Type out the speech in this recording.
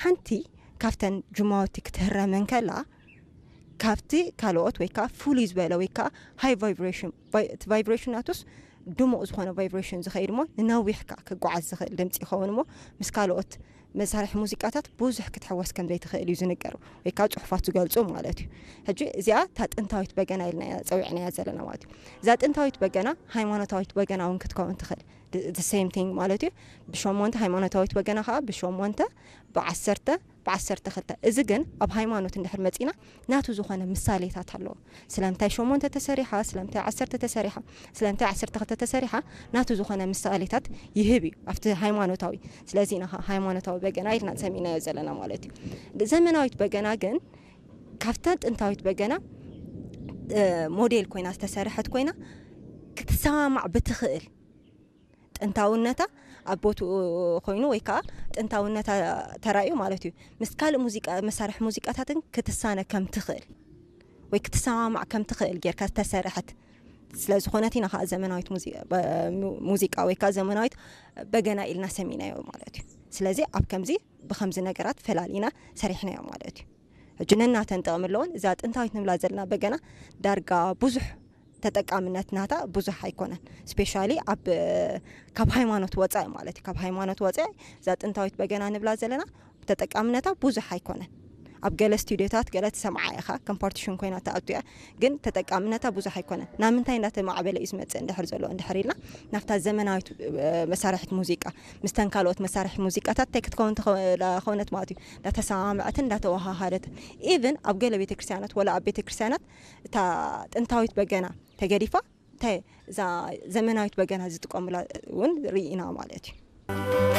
ሓንቲ ካብተን ጅማውቲ ክትህረም እንከላ፣ ካብቲ ካልኦት ወይ ከዓ ፍሉይ ዝበለ ወይ ከዓ ሃይ ቫይብሬሽን፣ ቫይ-፣ እቲ ቫይብሬሽን ናቱስ ድሙቕ ዝኾነ ቫይብሬሽን ዝኸይድ እሞ ንነዊሕ ከዓ ክጓዓዝ ዝኽእል ድምፂ ይኸውን እሞ ምስ ካልኦት መሳርሒ ሙዚቃታት ብዙሕ ክትሕወስ ከም ዘይትኽእል እዩ ዝንገር ወይ ከዓ ፅሑፋት ዝገልፁ ማለት እዩ። ሕጂ እዚኣ እታ ጥንታዊት በገና ኢልና ጸዊዕናያ ዘለና ማለት እዩ። እዛ ጥንታዊት በገና ሃይማኖታዊት በገና እውን ክትከውን ትኽእል። The same thing ማለት እዩ። ብሸሞንተ ሃይማኖታዊት በገና ከዓ ብሸሞንተ፣ ብዓሰርተ፣ ብዓሰርተ ክልተ። እዚ ግን ኣብ ሃይማኖት እንድሕር መጺና ናቱ ዝኾነ ምሳሌታት ኣለዎ። ስለምንታይ ሸሞንተ ተሰሪሓ፣ ስለምንታይ ዓሰርተ ተሰሪሓ፣ ስለምንታይ ዓሰርተ ክልተ ተሰሪሓ፣ ናቱ ዝኾነ ምሳሌታት ይህብ እዩ ኣብቲ ሃይማኖታዊ። ስለዚ ኢና ሃይማኖታዊ በገና ኢልና ሰሚናዮ ዘለና ማለት እዩ። ዘመናዊት በገና ግን ካብታ ጥንታዊት በገና እ፣ ሞዴል ኮይና ዝተሰርሐት ኮይና ክትሰማማዕ ብትኽእል ጥንታውነታ ኣብ ቦትኡ ኮይኑ ወይ ከዓ ጥንታውነታ ተራእዩ ማለት እዩ። ምስ ካልእ ሙዚቃ፣ መሳርሒ ሙዚቃታትን ክትሳነ ከም ትኽእል ወይ ክትሰማማዕ ከም ትኽእል ጌርካ ዝተሰርሐት ስለ ዝኾነት ኢና ከዓ ዘመናዊት ሙዚ-፣ በ-፣ ሙ-፣ ሙዚቃ ወይ ከዓ ዘመናዊት በገና ኢልና ሰሚናዮ ማለት እዩ። ስለዚ ኣብ ከምዚ ብኸምዚ ነገራት ፈላሊና ሰሪሕናዮ ማለት እዩ። ሕጂ ነናተን ጥቕሚ ኣለዎን። እዛ ጥንታዊት ንብላ ዘለና በገና ዳርጋ ብዙሕ ተጠቃምነት ናታ ብዙሕ ኣይኮነን። ስፔሻሊ ኣብ፣ ካብ ሃይማኖት ወፃኢ ማለት እዩ። ካብ ሃይማኖት ወፃኢ እዛ ጥንታዊት በገና ንብላ ዘለና ተጠቃምነታ ብዙሕ ኣይኮነን። ኣብ ገለ ስቱዲዮታት ገለ ትሰምዓ ኢኻ፣ ከም ፓርቲሽን ኮይና ትኣቱ እያ፣ ግን ተጠቃምነታ ብዙሕ ኣይኮነን። ናብ ምንታይ እንዳተማዕበለ እዩ ዝመፅእ እንድሕር ዘሎ እንድሕር ኢልና ናብታ ዘመናዊት፣ እ፣ መሳርሒት ሙዚቃ ምስተን ካልኦት መሳርሒ ሙዚቃታት እንታይ ክትከውን ተኸ-፣ ላ-፣ ኾነት ማለት እዩ፣ እንዳተሰማምዐትን እንዳተወሃሃደትን። ኢቭን ኣብ ገለ ቤተክርስትያናት ወላ ኣብ ቤተክርስትያናት እታ ጥንታዊት በገና ተገዲፋ እንታይ እዛ ዘመናዊት በገና ዝጥቀሙላ እውን ርኢና ማለት እዩ።